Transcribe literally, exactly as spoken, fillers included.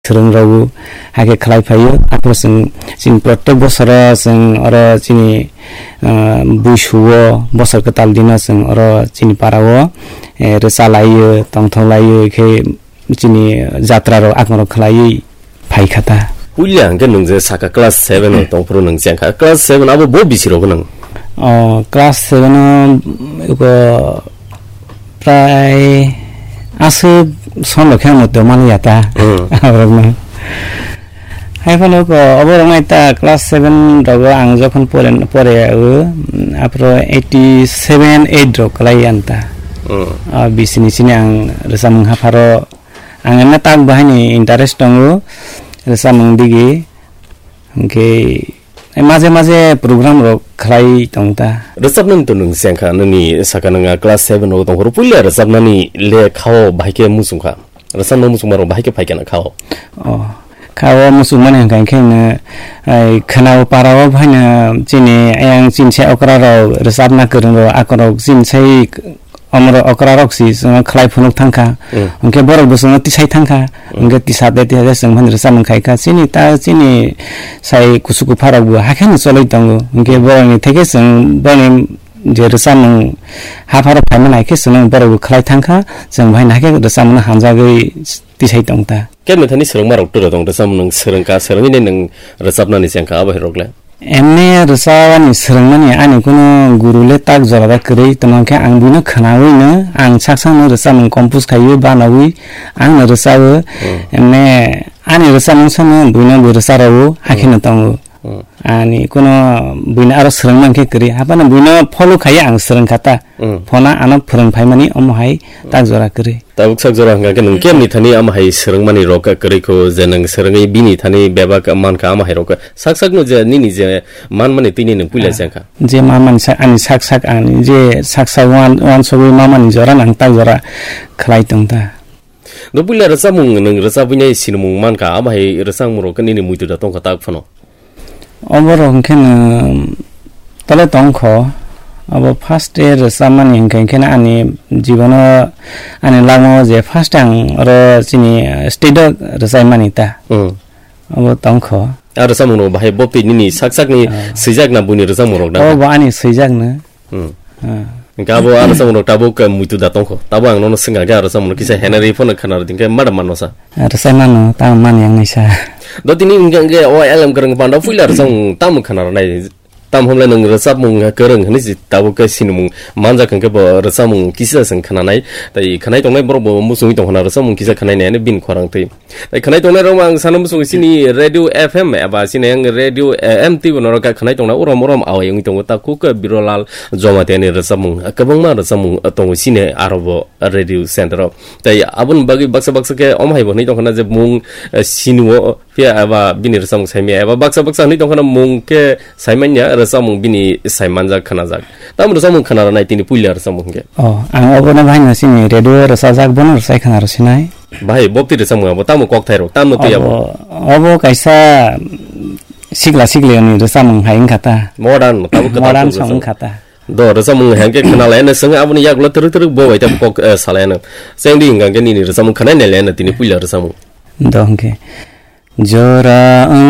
swrwng rwgo, hakhe khlai phaio. Aphuru chwng chini protek bosoro chwng oro chini, ah, buisuo bosor kwtal dino chwng oro chini parao, eh, rwchalaio, tongthok laio, khe chini jatra rok akorok khlaiwi phaikha ta. Puila hwnkhe nwng je saka class seven o tongphuru nwng chengkha. Class seven abo bo bisi rok nwng? O, class seven o, eko, prai aswk som rok khe ang moto maliya ta. Hmm. Aborok no. Hai phano ko, obo rok nai ta class seven rogo ang jokhon pore, pore o, aphuru eighty seven, eight rok kwlai yan ta. Hmm. Ah, bisini sini ang rwchapmung hapharo ang emne tak bahai ni interest tongo rwchapmung digi. Hwnkhe maje maje program rok khlai tong ta. Rwchapnani to nwng chengkha, nini saka nwng a class seven rogo tongphuru puila rwchapnani le khao bahai khe muchungkha. Rwchapna muchungmarok bahai khe phaikha na khao. Oh, khao muchungmani hwnkha khe no, ai, khwnao parao phaina chini ayang chini sai okra rok rwchapna kwrwng rok akorok chini sai omoro okra rok si chwngno khlai phunuk thangkha. Mm. Hwnkhe borok bo chwngno tisai thangkha. Mm. Hwnkhe tisa de tisa de chwng phani rwchapmung khaikha. Chini ta chini sai kusu kupha rok bo hakhe no choloi tongo. Hwnkhe borokni theke chwng boni je rwchapmung hapharo phaimani hai khe chwngno borok bo khlai thangkha, chwng bai nahai khe rwchapmungno hamjagwi tisai tongta. Kebni thani swrwngmarok turo tong rwchapmung nwng swrwngkha, swrwngwi nwng rwchapnani chengkha abo hai rok le? Emne rwchapani swrwngmani ani kunu guru le tak jora da kwrwi, tamo khe ang buino khwnawino ang sak sakno rwchapmung compose khaiwi banawi angno rwchawo. Hmm. Emne ani rwchapmung sano buino bo rwcharowo, hakhe Hmm. no tongo. Hmm. Ani kuno buino aro swrwng mankhe kwrwi. Haphano buino follow khaiya ang swrwng kha ta. Hmm. Phona ano phwrwng phaimani omo hai tak jora kwrwi. Tabuk sak jora hwnkha khe nwng kemni thani omo hai swrwngmani rok kwrwi kho je nwng swrwngwi bini thani bebak mankha omo hai rok sak sakno je nini je manmani tini nwng puila Ah. jengkha. Je manmani sa-, ani sak sak ani je sak sak wan-, wansugwi mamani jora nang tak jora khlai tong ta. Do puila rwchapmung nwng rwchapwi nai sinimung mankha, abo hai rwchapmung rok nini muitu da tongkha tak phano? Obo rok hwnkhe no tole tongkho. Abo first day rwchapmani hwnkhe, hwnkhe no ani jibono ani lama o je first ang oro chini stage o rwchapmani ta. Hmm. Abo tongkho. A rwchapmung rok bahai boptwi nini sak sakni Ah. swijak na buini rwchapmung rok na? Obo ani swijak no. Hmm. Ah. Hingke abo ano samung rok tabuk, eh, muitu da tongkho. Tabo ang nono swngkha khe aro samung kisa henari phano khana rwding khe madam mano sa. Aro sai mano, tamo mani ang naisa. Do tini hingke, hingke o L M kwrwng panda puila aro samung tamo khana rwnai, tamo hwnle nwng rwchapmung kwrwng hwnwi si tabuk khe sinimung manjak hwnkhe bo rwchapmung kisa se khana nai. Tai khanai tongnai borok bo muchungwi tongkha na rwchapmung kisa khanai nai hwnwi bini khorang twi. Tai khanai tongnai rok ang sana muchung sini Radio F M eba sini ang Radio, eh, M T bo norok kha khanai tongna urom urom awai wngwi tongo ta kuk Birolal Jamatia ni rwchapmung, kwbangma rwchapmung tongo sini aro bo radio center o. Tai aboni bagwi baksa baksa khe omo hai bo hwnwi tongkha na je mung, eh, sini o phiya eba bini rwchapmung saimya eba baksa baksa hwnwi tongkha na mung khe saimanya rwchapmung bini saimanjak khanajak. Tamo rwchapmung khana rwnai tini puila rwchapmung hwnkhe. Oh, ang obono bahai no sini radio rwchajak bono rwchai khana rw sinai. Bahai, bopti rwchapmung abo tamo kokthai rok, tamo twi abo? Obo, obo kaisa sikla sikli ni rwchapmung hai wngkha ta. Modern, tabuk kwtal Modern rwchapmung. Song wngkha ta. Do, rwchapmung hai khe khna lai, ene swng aboni yagulo twrwk twrwk bo bai tamo kok, eh, salai ano. Chengdi hwnkha khe nini rwchapmung khna nai lai ano tini puila rwchapmung. Do hwnkhe. Jora wng